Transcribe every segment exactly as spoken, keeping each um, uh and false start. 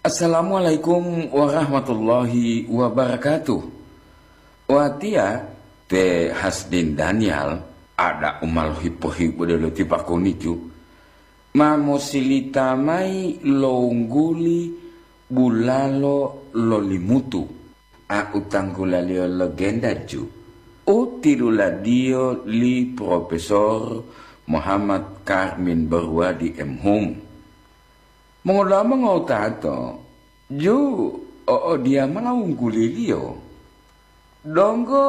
Assalamualaikum warahmatullahi wabarakatuh. Watiya te Hasdin Daniel, ada u ma lohipo-hipodelo ti pakonicu, ma mosilita mayi lo wungguli bulalo lo Limutu, a u tanggulaliyo legenda ju, u tiluladiyo li Profesor Muhammad Karmin Barwadi M Hum. Mongoda'a mongowutato, ju o'odiyamola wungguliliyo. Donggo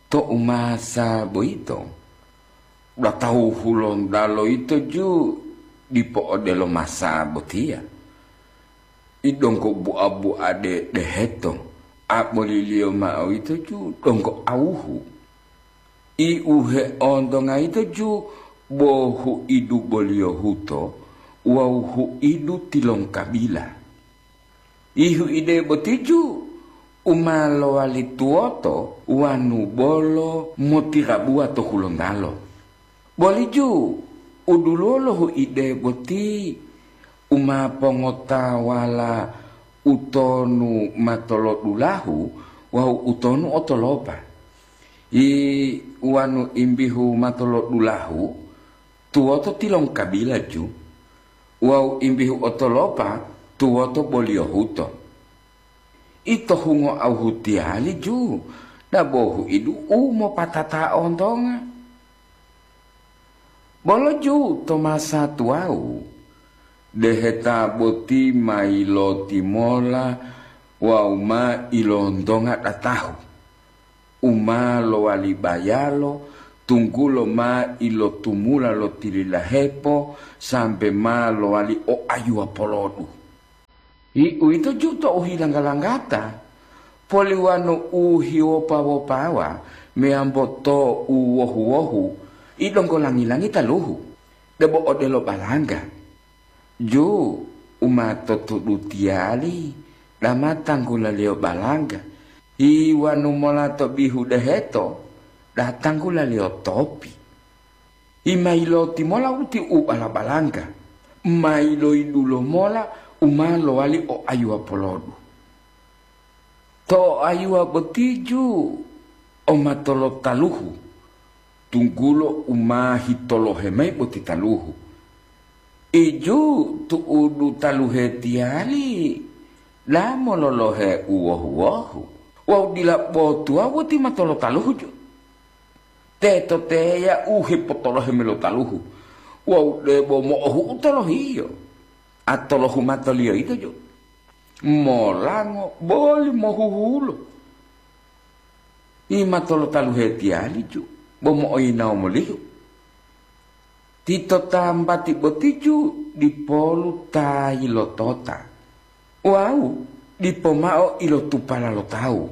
to umasa boyito, datau Hulontalo yito ju dipo odelo masa botiya. I donggo bua-buade deheto, aboliliyo ma'o yito ju donggo awuhu. I u heontonga yito ju bo huidu boliyo huto wawu huidu tilongkabila. I huide boti ju u ma lowali tuwoto wanu bolo motirabuwa to Hulontalo. Boli ju u duluwo lo huide boti u ma pongotawala utonu matolodulahu wawu utonu otolopa. I wanu imbihu matolodulahu tuwoto tilongkabila ju, wawu imbihu otolopa tuwoto boliyo huto. Ito hungo awuhu tiyali ju, dabohu idu u mopatata ontonga. Bolo ju to masa tuwawu, deheta boti ma yilotimola wawu ma ilontonga datahu, u ma lowali bayalo, tunggulo ma ilotumula lo tililahepo sambe ma lowali o ayuwa polodu. Uwito ju to u hilangga-langgata, poliwano u hiwopa-wopawa meyambo to u wohu-wohu, i donggo langi-langi taluhu, debo odelo balangga. Ju u ma to tudu tiyali dama tanggulaliyo balangga, hiwanu mola to bihu deheto da tanggulaliyo topi. Imailoti mola uti u bala-balangga, mailoidulo mola u ma lowali o ayuwa polodu. To ayuwa boti ju o matolotaluhu, tunggulo u ma hitolohe mayi boti taluhu. Iju tu'udu taluhe tiyali, la mololohe u wohu-wohu, wawu dila botuwa boti matolotaluhu ju. Teto teya u hepotolohe melotaluhu, wawu debo mo'ohu'u tolohiyo, a tolohu matoliyo yito ju. Molango boli mohuhulo. Imato lo taluhe tiyali ju, bo mo'oyinawo molihu. Tito tambati boti ju dipolu ta yilotota, wawu dipo mao ilotupala lo tawu.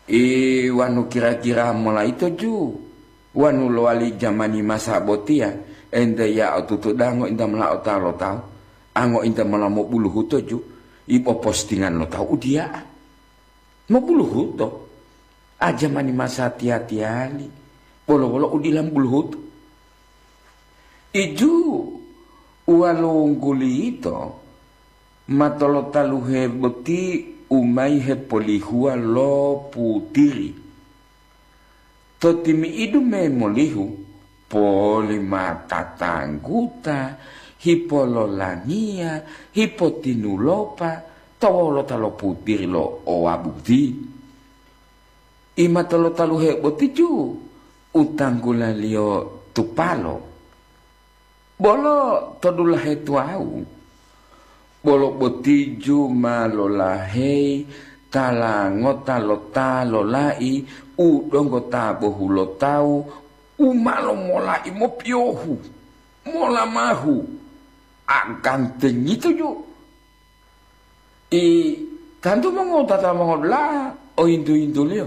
I wanu kira-kira mola ito ju, wanu lowali jamani masa botiya, ente ya otutu dango inta mola otawa lo tawu, ango inta mola mobuluhuto ju, i popostingan lo tawu udiya'a. Mobuluhuto, a jamani masa tiya-tiyali, bolo-bolo u dila mobuluhuto. Iju uwalungguli yito, matolotaluhe boti u mayi hepolihuwa lo putiri. To timi'idu memolihu, poli ma tatangguta, hipololangiya, hipotinulopa to wolota lo putiri lo owabuti. Imatolotaluhe boti ju u tanggulaliyo tupalo. Bolo to dulahe tuwawu, bolo boti ju ma lolaheyi tala ngota lo ta lolai u donggo ta bohulotawu u ma lomolai mopiyohu, molamahu, a gantengito ju. I tantu mongowutata mongodula'a oyintu-yintuliyo,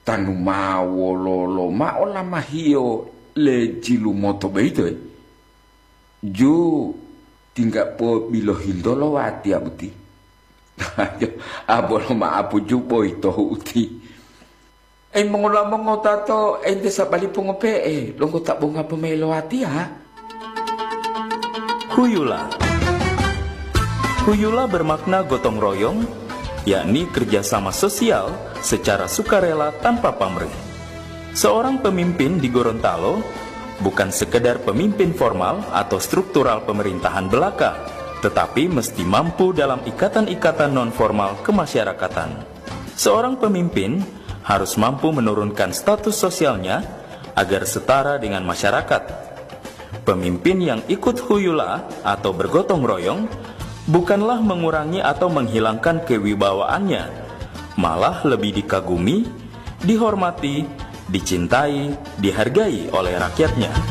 tanu ma wololo mao lamahiyo le jilumoto boyito, e? Ju tingga bo bilohintolo watiya boti. Abolo ma'apu ju boyito hu'uti. Ei, mongola mongotato, ente sabali pongope'e, longgota bonga pomai lo watiya? Huyula. Huyula bermakna gotong royong, yakni kerjasama sosial secara sukarela tanpa pamrih. Seorang pemimpin di Gorontalo bukan sekedar pemimpin formal atau struktural pemerintahan belaka, tetapi mesti mampu dalam ikatan-ikatan non-formal kemasyarakatan. Seorang pemimpin harus mampu menurunkan status sosialnya agar setara dengan masyarakat. Pemimpin yang ikut huyula atau bergotong royong bukanlah mengurangi atau menghilangkan kewibawaannya, malah lebih dikagumi, dihormati, dicintai, dihargai oleh rakyatnya.